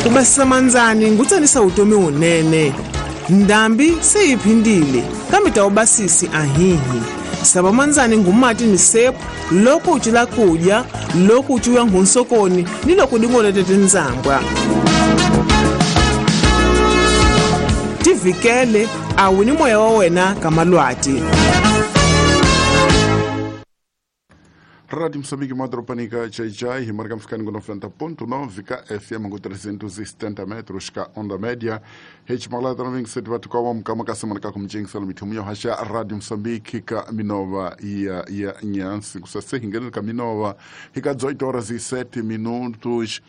Ku basisa mandzani ngutsanisa vutomi wunene. Ndhambi se yi phindile, kambe ta wu basisi ahihi. Sava mandzani ngumati ni sepu loko u cila kudya, loko u cuya nghunsokoni ni loko dingolete tindzambwa. Tivikele a wu ni moya wa wena ka malwati. Rádio Moçambique, Madropanica, Chai, marcamos ficando com 90.9, ka FM com 370 metros, ka onda média. H Malata 97 vatukawa mkama kasema ka kumjenga mithumu hasha Rádio Moçambique ka minova ya nyansi kusase hingene ka minova hika 18 horas e 7 minutos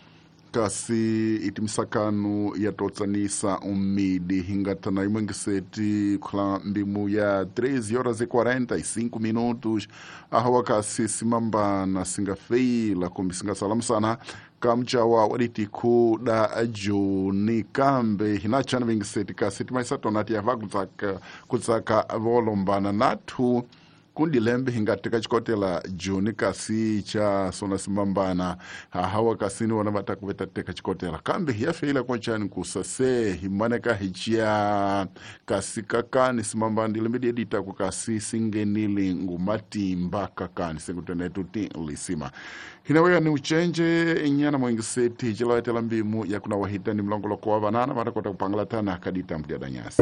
kasi itimisakanu yatotsanisa umidi hingatana imwengiseti kula mbimu ya 13 horas e 45 minutos ahawa kasi simambana singafeila kumbi singasalamusana kamchawa waditiku da juni kambe hinachana vingiseti kasi timaisatona tiyava kutsaka volombana nathu kundi lembe hingateka chikotela juni kasi cha sona simambana hawa kasini wana vatakuveta chikotela kambe hiyafeila konchani kusase himaneka hichia kasi kakani simambana ndilembe dieditako kasi singenili ngumatimba kakani sekutenetu ti lisima hinaweya ni uchenje inyana mwengiseti hichilaetela mbimu yakuna wahita ni mlongoloko wa vanana vatakota kupangala tana kadita mdiadanyasi.